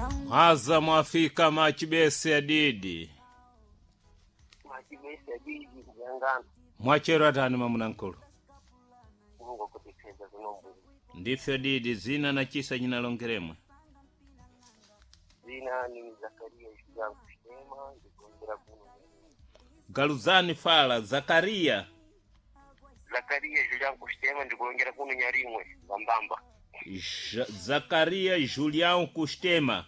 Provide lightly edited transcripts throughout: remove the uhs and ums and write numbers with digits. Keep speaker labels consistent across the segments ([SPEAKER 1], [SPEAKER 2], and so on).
[SPEAKER 1] Mwaza mwafika machibese adidi.
[SPEAKER 2] Machibese adidi kuyangana.
[SPEAKER 1] Mwachero atani mamunankulu.
[SPEAKER 2] Mungu akutipeza kunombo.
[SPEAKER 1] Ndifyo didi zina na chisa nyinalongeremwe.
[SPEAKER 2] Zina ni Zakaria Julian Kushema ndikuongera kuno.
[SPEAKER 1] Galuzani Fala Zakaria.
[SPEAKER 2] Zakaria Julian Kushema ndikuongera kuno Nyarimwe Mbamba.
[SPEAKER 1] Zakaria Julian Kustema.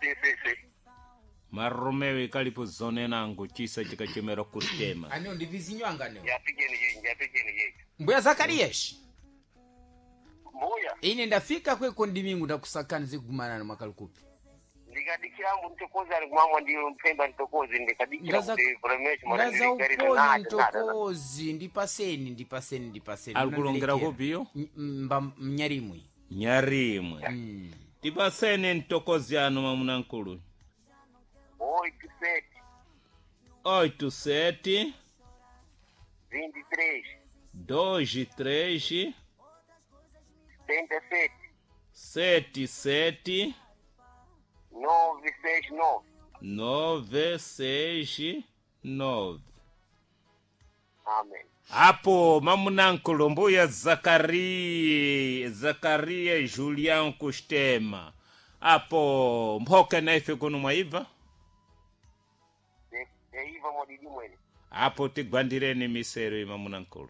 [SPEAKER 2] Si si si.
[SPEAKER 1] Maromeo ikalipo zone nangu chisa chikachemera kustema.
[SPEAKER 3] Aneo ndivizinywanga neo.
[SPEAKER 2] Yapigeni yeye, yapigeni yeye.
[SPEAKER 3] Mbuya Zakarias.
[SPEAKER 2] Mbuya.
[SPEAKER 3] Ine ndafika kweko ndimingu ndakusakani zikugumanana mwakalukupi.
[SPEAKER 2] Ndikadikira mbu ntokozi ali kumamwa ndiyo mpemba ntokozi ndikadikira
[SPEAKER 3] Ndaza-
[SPEAKER 2] kuti premesh mara
[SPEAKER 3] Ndaza
[SPEAKER 2] ndiligarira
[SPEAKER 3] uponyo
[SPEAKER 2] nada nada.
[SPEAKER 3] mtokozi ndipaseni ndipaseni ndipaseni.
[SPEAKER 1] Alikulongera
[SPEAKER 3] Unandiletea.
[SPEAKER 1] kupiyo?
[SPEAKER 3] Mba mnyarimwe.
[SPEAKER 1] Nyarimwe. Tipaseni ntokozi anu mamunankulu.
[SPEAKER 2] 8 7
[SPEAKER 1] 8 7
[SPEAKER 2] 23
[SPEAKER 1] 2 3
[SPEAKER 2] 77
[SPEAKER 1] 7 7
[SPEAKER 2] 9 6 9.
[SPEAKER 1] 9 6 9.
[SPEAKER 2] Amen.
[SPEAKER 1] Apo mamunankulu mbuya Zakaria Zakaria Julian Kustema. Apo mphoka naife kuno mwaibva.
[SPEAKER 2] Eiva mwadidi mwene.
[SPEAKER 1] Apo tigwandireni misero imamunankulu.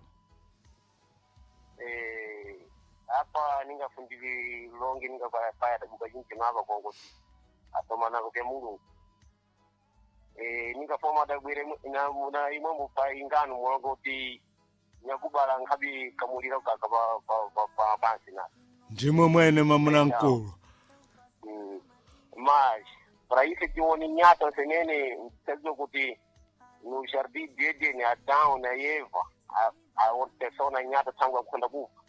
[SPEAKER 2] Apa ningafundili longe ningapaya tabuka jinsi nava kongoti atomanako ke Mulungu. Ningafoma dagwire na na imwe mupa ingano mulongoti nyakubala nkhabi kamuliro kaka pa pa pa, pa pansi na.
[SPEAKER 1] Ndimwe mwene mamunankulu.
[SPEAKER 2] Mas para isso tione nyata senene mtezo kuti no jardim de Eden Adão na Eva a outra na nyata tangu akwenda kufa.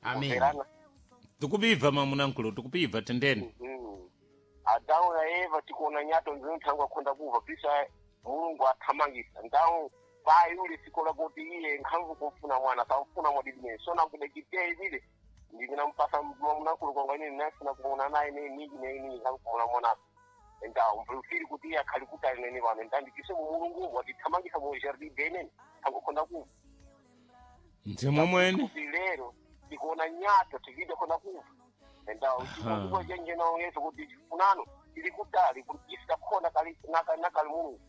[SPEAKER 3] Amen.
[SPEAKER 2] Kuverana.
[SPEAKER 1] Tikupibva mamunankulu tikupibva tendeni.
[SPEAKER 2] Adamu na Eva tikuona nyato nzinu tangu akhonda kuva pisa Mulungu athamangisa ndawu payi uli sikola kuti iye nkhamvu kumfuna mwana samfuna mwadidimene sona kudekiteya ibile ndikunampasa mnakulu kwanga ine nafuna kuona naye ne niji ne nini nkamkumona mwanako ndawu mfiri kuti iye akhali kutali nene pano ndandikise mu Mulungu watithamangisa mu jardin denene tangu khonda kuva
[SPEAKER 1] Ndimwe mwene.
[SPEAKER 2] kuti lero tikuona nyato tikide khona kuva endawo chikuko chenjena yesu kuti chifunano tili kutali kuti isikakhona kali nakali Mulungu.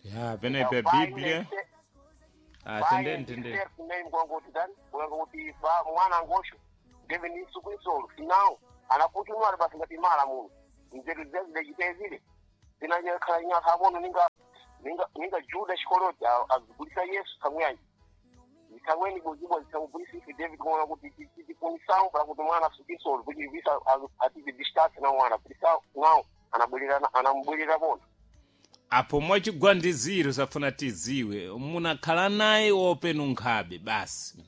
[SPEAKER 1] Ya penepe Biblia. Ah, tendeni tendeni.
[SPEAKER 2] Ngoti dani kulanga kuti ba mwana ngosho ndeve ni suku isolo sinao anakuti mwana basi ngati mala muno nzeru zezidechitezile zinanyakhala nyakha abono ninga ninga ninga Juda shikoloti azigulisa Yesu kamwanyi zitangweni bozibwa zitangugulisa ife David kuona kuti tikunisawo para kuti mwana asukisolo kuti visa atize distance na mwana kuti nao anabwelera anamubwelera bona.
[SPEAKER 1] Apo mwachigwandiziro safuna tiziwe munakhala naye openu nkhabe basi.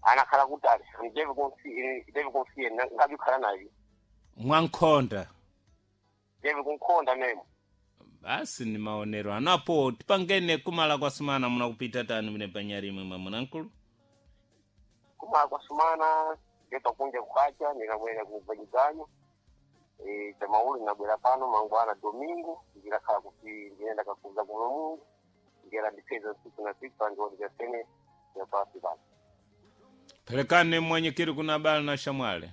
[SPEAKER 2] Anakhala kutali David konsiye ngabi khala naye
[SPEAKER 1] Mwankhonda.
[SPEAKER 2] David kunkhonda memo.
[SPEAKER 1] Basi ni maonero anu apo tipangene kumala kwa sumana munakupita tani mune panyarimwe mamunankulu.
[SPEAKER 2] Kumala kwa sumana ndeta kunja kukacha ndinabwera kuvanyiganyo chamauli nabwera pano mangwana domingo ndilakhala kuti ndinenda kakuza kuno Mulungu ndiyera ndipeza siku na siku pandiwondigasene yapasi pano.
[SPEAKER 1] Pelekane mwenyekeri kuna bala na shamwale.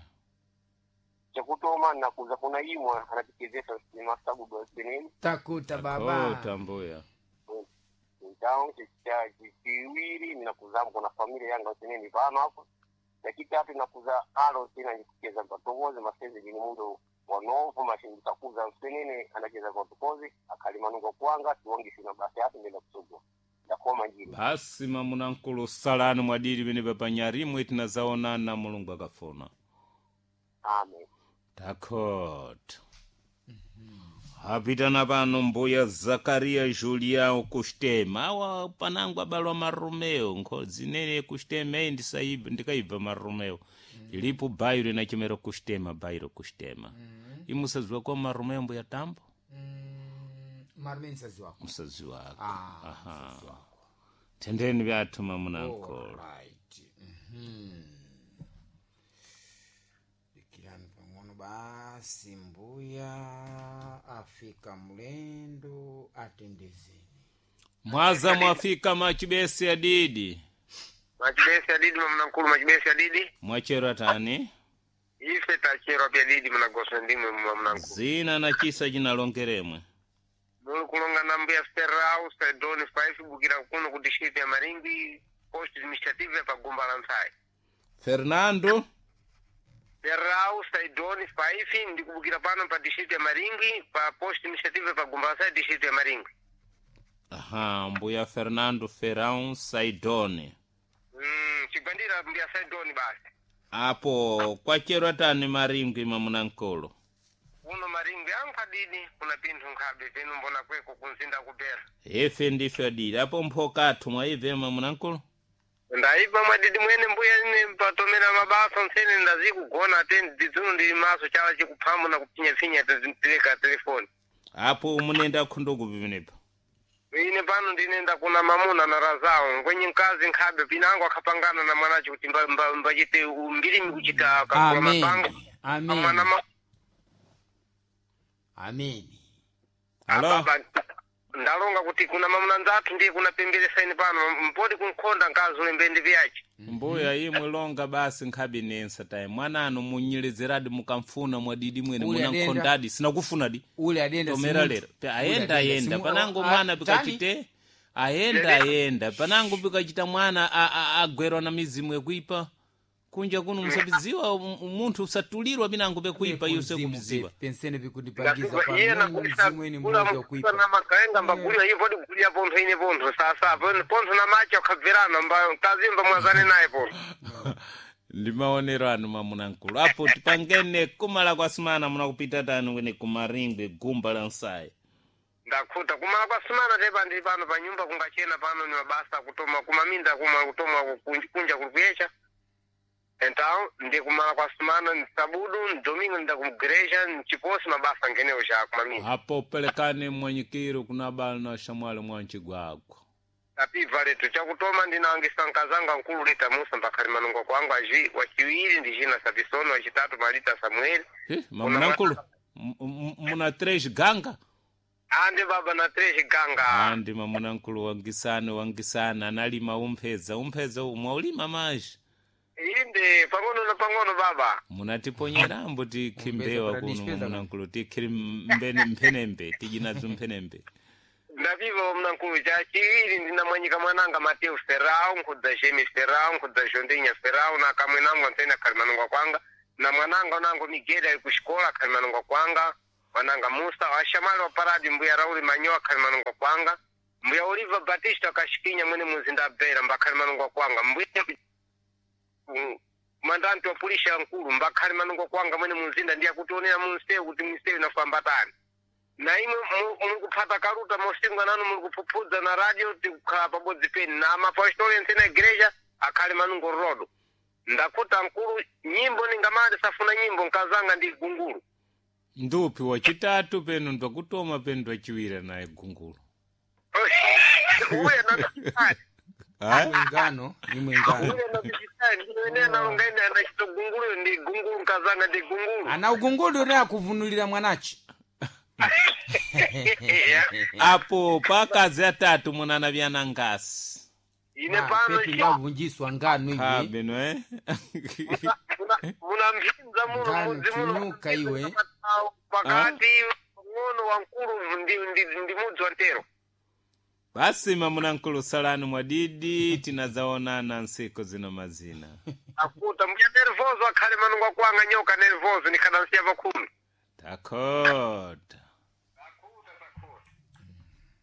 [SPEAKER 2] Chakutoma nakuza kuna imwe anatikezesa masabudu asenene.
[SPEAKER 3] Takuta baba.
[SPEAKER 1] Oh, tambuya.
[SPEAKER 2] Então chiwiri ndinakuzamo kuna familia yanga senene pano apo. Chachitatu nakuza alo sina ndikucheza patokozi maseze ndini mundu wanovu mashindikakuza msenene anacheza patokozi akhalimanuka kwanga tiwongisina basi apo ndenda kusogwa ndakoma njira.
[SPEAKER 1] Basi mamunankulu salani mwadiri pene panyarimwe tinazaonana Mulungu akafuna.
[SPEAKER 2] Amen.
[SPEAKER 1] Takota. Apitana pano mbuya Zakaria Julião Kustema. Awa panangu abalwa Maromeo. Nkhodzi nene Kustema eyi ndisaibva ndikaibva Maromeo. Ilipo bairo inachemera Kustema bairo Kustema. Imusaziwa kwa Maromeo mbuya tambo?
[SPEAKER 3] Marume msazi wako.
[SPEAKER 1] Musazi wako.
[SPEAKER 3] Ah,
[SPEAKER 1] Aha.
[SPEAKER 3] msazi wako.
[SPEAKER 1] Tendeni vyathu mamunankulu.
[SPEAKER 3] Alright. Mhm. Basi mbuya afika mlendo atendezeni.
[SPEAKER 1] Mwaza mwafika machibesi adidi.
[SPEAKER 2] Machibesi adidi mamnankulu machibesi adidi.
[SPEAKER 1] Mwachero atani.
[SPEAKER 2] Ife tachero pya didi mnagosa ndimwe mamnankulu.
[SPEAKER 1] Zina na chisa chinalongeremwe.
[SPEAKER 2] Muli kulonga na mbuya Ferrau Sedoni 5 bukira kuno ku district ya Maringi post administrative ya pagumba la Ntsai.
[SPEAKER 1] Fernando
[SPEAKER 2] Ferrau Saidoni 5 ndikubukira pano pa district ya Maringi pa post administrative ya pagumba la Ntsai district ya Maringi.
[SPEAKER 1] Aha, mbuya Fernando Ferrão Saidone.
[SPEAKER 2] Chigwandira mbuya Saidoni basi.
[SPEAKER 1] Apo kwachero atani Maringwi mamunankulu.
[SPEAKER 2] Kuno Maringwi ankhadidi kuna pinthu nkhabe penu mbona kweko kunzinda kupera.
[SPEAKER 1] Ife ndife adidi. Apo mphokathu mwaibve mamunankulu.
[SPEAKER 2] Ndaipa mwadidi mwene mbuya ine patomera mabasa ntsene ndazikugona ate ndidzuno ndili maso chala chikuphamu na kupfinyafinya tileka telefoni.
[SPEAKER 1] Apo munenda khunduku vimenepa.
[SPEAKER 2] Ine pano ndinenda kuna mamuna na razawo ngwenye mkazi nkhabe pinango akhapangana na mwanacho kuti mbachite mbilimi kuchita kakula mapango.
[SPEAKER 3] Amen.
[SPEAKER 2] Mwana
[SPEAKER 3] Amen.
[SPEAKER 2] ma
[SPEAKER 3] Amen.
[SPEAKER 1] Alo.
[SPEAKER 2] Baba, ndalonga kuti kuna mamuna nzathu ndiye kuna pembelesa ine pano mpoti kunkhonda nkazi ulembende vyace.
[SPEAKER 1] Mbuya imwe longa basi nkhabe nensa tayi mwananu munyelezeradi mukamfuna mwadidi mwene
[SPEAKER 3] Ule adenda.
[SPEAKER 1] munankhondadi sinakufunadi
[SPEAKER 3] Ule adenda
[SPEAKER 1] tomera
[SPEAKER 3] simunthu.
[SPEAKER 1] lero
[SPEAKER 3] Ule
[SPEAKER 1] ayenda
[SPEAKER 3] adenda
[SPEAKER 1] ayenda panango mwana
[SPEAKER 3] tani?
[SPEAKER 1] pikachite ayenda ayenda panango pikachita mwana agwerwa na mizimu yakuipa kunja kuno musabiziwa munthu usatulirwa pinango pekuipa iyo
[SPEAKER 3] Mzimu
[SPEAKER 1] sekubiziwa
[SPEAKER 3] pensene vikundipangiza
[SPEAKER 2] Iye
[SPEAKER 3] pamene mzimu eni mmoja kuipa.
[SPEAKER 2] na makaenga mbagulira iye poti gulira pontho ine pontho sasa pontho na macho akhabverana mba mkazi mba mwazane naye pontho.
[SPEAKER 1] Ndi maonero anu mamunankulu apo tipangene kumala kwa simana munakupita tani wene kumaringwe gumba la nsayi.
[SPEAKER 2] Ndakhuta kumala kwa simana tepa ndili pano pa nyumba kungachena pano ni mabasa akutoma kumaminda kuma kutoma kunja kuli kuyecha. Então ndi kumala kwa simana ni sabudu ni domingo nda kumgereja ni chiposi mabasa ngenewo cha kumaminda.
[SPEAKER 1] Apo pelekane mwanyikiro kuna bala na shamwali mwanchigwagwa.
[SPEAKER 2] Tapibva letu chakutoma ndinangisa nkazanga nkulu lita Musa mbakhali manungo kwangu aji wachiwiri ndi Gina Sapisoni wachitatu Malita Samuel.
[SPEAKER 1] Mamunankulu muna tres ganga.
[SPEAKER 2] Ande baba na tres ganga.
[SPEAKER 1] Andi mamunankulu wangisane wangisane analima umpheza umpheza mwaulima maji.
[SPEAKER 2] Inde pang'ono na pang'ono baba.
[SPEAKER 1] Munatiponyerambo tikhimbewa
[SPEAKER 3] Umpeza
[SPEAKER 1] kuno
[SPEAKER 3] para
[SPEAKER 1] mamunankulu tikhiri mbene mphenembe tijinadzo mphenembe.
[SPEAKER 2] Ndapiva mnankulu chachiwiri ndinamwanyika mwananga Mateo Ferrao nkhudza Jemi Ferrao nkhudza Jondinha Ferrao na kamwenangu antsene akhali manungo kwanga na mwananga unango Miguel ali kuxikola akhali manungo kwanga mwananga Musa washamali wa paradi mbuya Rauli Manyoa akhali manungo kwanga mbuya Oliva Batista akashikinya mwene muzinda abvera mbakhali manungo kwanga mbuya mandanti wa pulisha nkulu mbakhali manungo kwanga mwene muzinda ndiye akutionera munsewu kuti munsewu inafambatani na imwe mulikuphata kaluta mosingwa nanu mulikuphuphuza na radio tikukhala pabodzi peni na mapostoli ensene igreja akhale manungo rodo ndakuta nkulu nyimbo ningamali safuna nyimbo nkazanga ndi gungulu.
[SPEAKER 1] Ndupi wachitatu penu ndwakutoma penu ndwachiwira naye gungulu.
[SPEAKER 2] Uye na
[SPEAKER 1] Ah?
[SPEAKER 3] Mwingano ni mwingano.
[SPEAKER 2] uye na nalonga ine anachito gungulu ndi gungulu nkazanga ndi gungulu.
[SPEAKER 3] Ana ugungulu ri akuvunulira mwanachi.
[SPEAKER 1] Apo pakazi atatu munana vyana ngasi.
[SPEAKER 2] Ine pano
[SPEAKER 3] Pepi ngavunjiswa ngano iwe.
[SPEAKER 1] Khabe no eh?
[SPEAKER 2] muna mphinza muno
[SPEAKER 3] Ngano
[SPEAKER 2] mudzi muno
[SPEAKER 3] tinyuka iwe.
[SPEAKER 2] pakati ng'ono wankulu ndi mudzi wa ntero.
[SPEAKER 1] Basi mamunankulu salani mwadidi tinazaonana nsiku zino mazina.
[SPEAKER 2] Akuta mbuya nervoso akhale manungo akwanga nyoka nervoso nikhadansiya pakhumi.
[SPEAKER 1] Takota.